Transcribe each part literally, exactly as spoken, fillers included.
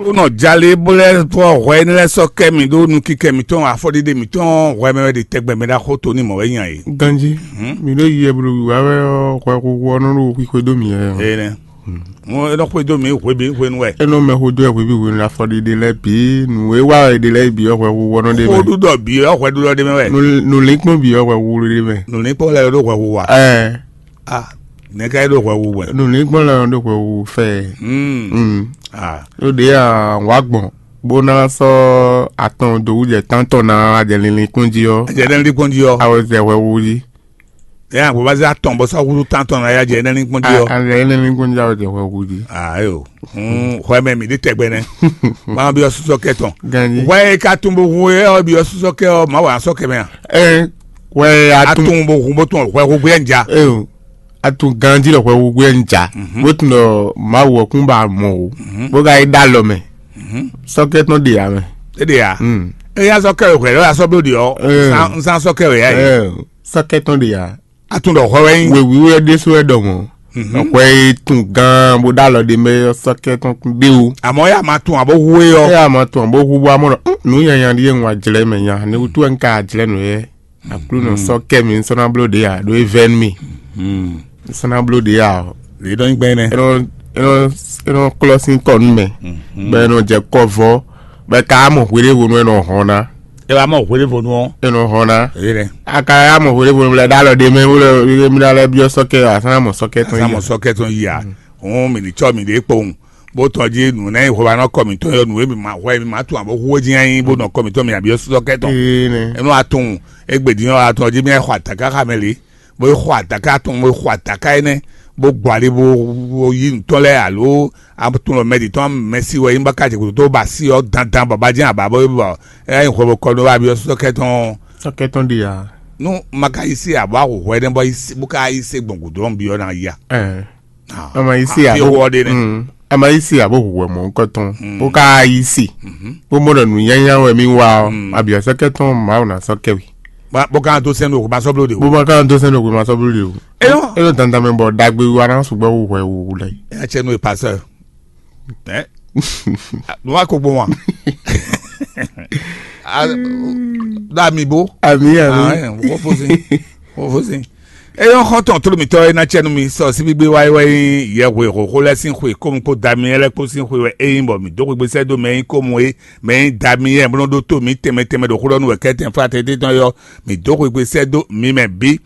Ó nɔ jalé bó lɛ́ fɔ hwɛ énɛ́ lɛ́ɛ sɔ́ kɛ mì ɖó nukikɛ mǐtɔn, afɔɖiɖe mǐtɔn hwɛ mɛ wɛ ɖe tɛgbɛ mɛ ɖaxó to ní mɔ̌ wɛ nya é. Ganjí, mi ɖo yiyi e bló wǐwá wɛ ɔ́, hwɛ huhu ɔ́ nɔ ɖo xwixwe dó mì wɛ ɔ́. Énɛ́. Mo é nɔ xwedó mǐ hwebi hwenu wɛ. É nɔ mɛ xwedó wɛ hwebi hwenu afɔɖiɖe lɛ́ɛ bǐ, nǔ e wa wɛ ɖe lɛ́ɛ bǐ ɔ́, hwɛ huhu ɔ́ nɔ ɖe mɛ. Xóɖuɖɔ bǐ ɔ́, hwɛɖuɖɔ ɖe mɛ wɛ. Nǔ- nǔlínkpɔ́n bǐ ɔ́, hwɛ huhu ɖe mɛ. Nǔlínkpɔ́n lɛ́ɛ ɖó hwɛ huhu a? Ɛɛ. Ah, nɛ̌ ká é ɖó hwɛ huhu wɛ? Nǔlínkpɔ́n lɛ́ɛ ɖó hwɛ huhu fɛ. Mm. Mm. Ah. Ló ɖě a wǎ gbɔn bó ná sɔ́ atɔn dó wú jɛ tántɔn ná wá jɛ linlin kpɔ́n jí ɔ́. Jɛ ɖe línkpɔ́n jí ɔ́. A wɛ zɛ hwɛ huhu jí. Ɛ àgbo bá zɛ atɔn bɔ sɔ́ húzú tántɔn ná yá jɛ ɖe línkpɔ́n jí ɔ́. A zɛ linlin kpɔ́n jí a wɛ zɛ hwɛ huhu jí. Ah, ayo. Mm, hwɛ mɛ mǐ ɖi tɛgbɛ nɛ. Máa byɔ́ sísɔ́ kɛ tɔn. Ganjí. Hwɛ e ka tunwun bo hu é ɔ́ byɔ́ sísɔ́ kɛ ɔ́, Mawu á sɔ́ kɛ mɛ a? Ɛ, hwɛ a tun Atun bo hu bó tun hwɛ hu gbé nja. Eyo, a tun ganjí ɖɔ hwɛ hu gbé nja. Mhm. Bó tun ɖɔ Mawu ɔ́ kún ba mɔ o. Mhm. Bó ka yi ɖó alɔ mɛ. Mhm. Sɔ́ kɛ tɔn ɖe ya mɛ. É ɖe ya. Mm. Éyá sɔ́ kɛ wɛ hwɛ lɔ ya sɔ́ bló ɖi ɔ́. Ɛ. Nzán sɔ́ kɛ wɛ ya yi. Ɛ, sɔ́ kɛ tɔn ɖe ya. A tun ɖɔ hwɛ wɛ nyí. Wěwí wɛ ɖésú wɛ ɖɔ mɔ̌. Mhm. Hwɛ e tun gán bó ɖó alɔ ɖe mɛ ɔ́ sɔ́ kɛ tɔn ɖé o. Àmọ́ yá máa tun àbó hu é ɔ́. Ɛ a ma tun àbó hu bó amɔ ɖɔ, "Hm, nǔ nyanya ɖíe un wa jlɛ́ mɛ nya, ne wútu wɛ un ka jlɛ́ nǔ yɛ? Aklúnɔ sɔ́ kɛ mi, un sɔ́ ná bló ɖě a, ɖó é vɛ́ nú mi. Un sɔ́ ná bló ɖě a." Lě ɖɔ nyí gbɛn nɛ. É nɔ é nɔ é nɔ klɔ́ sín kɔ nú mɛ, bɔ é nɔ jɛ kɔ vɔ́, bɔ é ka mɔ hweɖévonu é nɔ hɔn ná. É wá mɔ hweɖévonu ɔ́. É nɔ hɔn ná. Èyí nɛ. A ka yá mɔ hweɖévonu lɛ ɖó alɔ ɖe mɛ, wó lɛ mi ɖó alɛ byɔ́ sɔ́kɛ, a sɔ́ ná mɔ sɔ́kɛ tɔn Sá yí mɔ a. Sɔ́kɛ tɔn yí a. Òun mì ní cɔ́ mì ɖě kpowun. Bó tɔn jí nǔ nɛ́ yi hwɛ wá nɔ kɔ mǐtɔn yɔ nǔ e mǐ ma hwɛ mǐ ma tunwun abó hu é jí nyi bó nɔ kɔ mǐtɔn mì abí ɔ́ sɔ́kɛ tɔn. Ee nɛ. Enú atɔn égbé dín ɔ́ atɔn jí mì xɔ atǎká xá mɛ lě, bó xɔ atǎká atɔn bó xɔ atǎká énɛ́, bó gbɔ ali bó bó yí nǔtɔn lɛ́ɛ alo atɔn lɔ mɛ ɖi tɔn mɛ si wɛ yín bá ká jɛ kútó bá sí ɔ́ dandan bɔ bá jɛ́n abǎ bó bɔ ɛ nyi hwɛ bó kɔ nú abí ɔ́ sɔ́kɛ tɔn. Sɔ́kɛ tɔn ɖi ya. Nú ma ka yí sí abɔ ahwɛhwɛ nɛ́ bɔ yí sí bó ka yí sé gbɔn gǔdo ɔ́ bí ɔ́ ná yí a. Ɛɛ. Ama yi si Afi abo wɔ ɖe nɛ. Mm. Ama yi si abo hu wɛ mɔ ŋkɔ tɔn. Mm. Bó ka yi si. Mhm. Bó mɔ ɖɔ nǔnyanya wɛ mi wa ɔ. Mm. Abiɔsɛ kɛ tɔn Mawu na sɔ kɛ wi. Ba bó kan tó sɛn o ma sɔ blo de o. Bó ma kan tó sɛn o ma sɔ blo de o. Eyɔ. Eyɔ dandan mɛ bɔ dagbe wa na sugbɛ wu hwɛ wu lɛ. Ɛ cɛ nu e pasɛ. Ɛ. Nua ko gbɔn wa. Da mi bo. Ami ami. Wo fosi. Wo fosi. Eyɔ xɔntɔn tolomitɔ e na cɛ nu mi sɔ síbígbé wáyé wɛ nyí yɛhwe xoxo lɛ sín xwe kómu kpó Damiɛlɛ kpó sín xwe wɛ é nyí bɔ mi dó xwegbe sɛ́ dó mɛ nyí kómu é mɛ nyí Damiɛlɛ bó nɔ ɖó tó mi tɛnmɛ tɛnmɛ ɖo xó ɖɔ nú wɛ kɛ́tɛn fá tɛtɛ́ tɔn yɔ mi dó xwegbe sɛ́ dó mi mɛ bǐ.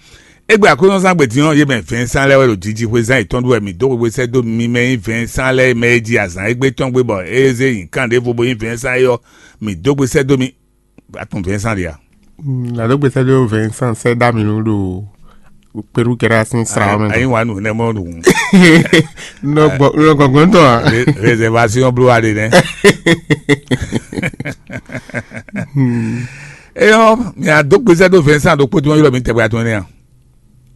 Égbé Aklúnɔzán gbe din ɔ́, yě mɛ Vɛnsán lɛ́ɛ wɛ ɖo jijixwezán yětɔn ɖu wɛ mǐ dó xwegbe sɛ́ dó mi mɛ nyí Vɛnsán lɛ́ɛ mɛ e ji azǎn égbé tɔn gbé bɔ é zé nyǐkan ɖěvo bó nyí Vɛnsán é ɔ́, mǐ dó gbe sɛ́ dó mi. Atún Vɛnsán ɖe a? Nado gbèsè ɖo Vincent sɛ dá mi nu ɖo Peru kɛra sin sra mɛ. Ayi wa nu ne mɔ ɖu. Nɔ gbɔ nɔ gbɔgbɔn tɔ a. Réservation blo wa de nɛ. Eyɔ mi a dó gbèsè ɖo Vincent ɖo kpótó yɔrɔ mi tɛgbɛ atún ne a.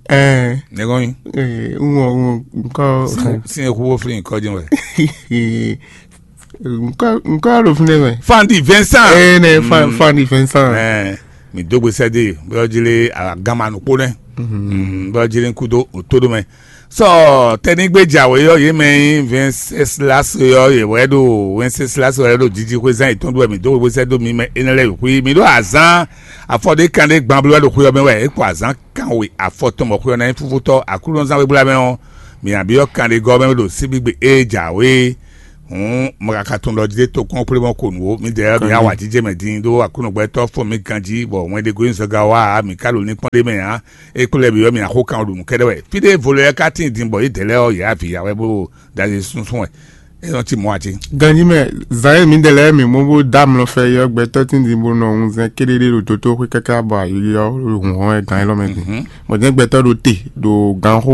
Ɛɛ. Ne kɔn mi. Ɛɛ n wɔ n wɔ nkɔ. Sin eku wo fili nkɔ jɛn wɛ. Nkɔ nkɔ ɖo fúnɛ mɛ. Fandi Vincent. Ee ne fan fandi Vincent. Ɛɛ mi dó gbèsè de bóyá jí lé agamanu kpó nɛ. Bóyá jí lé kúdó òtó ɖó mɛ. Sɔ tɛnigbe jàwé yɔ yé mɛ nyí Wenceslas yɔ yé wɛ ɖo Wenceslas wɛ ɖo jiji xwezán yìí tɔn ɖo wɛ mi dó gbèsè dó mi mɛ énɛ́ lɛ yòókù yìí mi ɖó azán afɔɖé kan ɖé gban bló wɛ ɖo xwé ɔ́ mɛ wɛ é kpɔ azán kan we afɔ tɔn bɔ xwé ɔ́ ná nyí fúfútɔ́ Aklúnɔzán wégbla mɛ ɔ́, mi nǎ byɔ́ kanɖegɔ́ mɛ ɖo síbígbe ée jǎwe. Hǔn mɔ̌ ka ka tunwun ɖɔ jí ɖé tokpɔ́n kplé mɔ ko nǔ ó, midɛɛ ɔ́, mi yá wǎjijɛ mɛ din ɖó Aklúnɔgbɛ́tɔ́ fɔ́n mi ganjí, bɔ wɛn ɖé gosín zɔga wá ǎ, mi ka ɖo linkpɔ́n ɖé mɛ ǎ. É kplɔ́ mi ɔ́, mi ná xo kan ɖo nǔ kɛ́ɖɛ́ wɛ. Fí ɖé vo lɛ́ɛ ka tíin din bɔ yědɛɛ lɛ́ɛ ɔ́, yě avǐ ya wɛ bó ɖo ɖazi súnsún wɛ. É nɔ cí mɔ̌ ǎ cé? Ganjí mɛ, zǎn e mǐdɛɛ lɛ́ɛ mǐ mɔ bó dó amlɔ fɛ é ɔ́, gbɛtɔ́ tínjínbónɔ ɔ́ wunzɛn kéɖéɖé ɖo dotóxwé káká bɔ ayǐ ɔ́ ɖo hǔnhɔ́n wɛ gǎn élɔ́ mɛ din. Bɔ jɛ́n gbɛtɔ́ ɖo te ɖo ganxó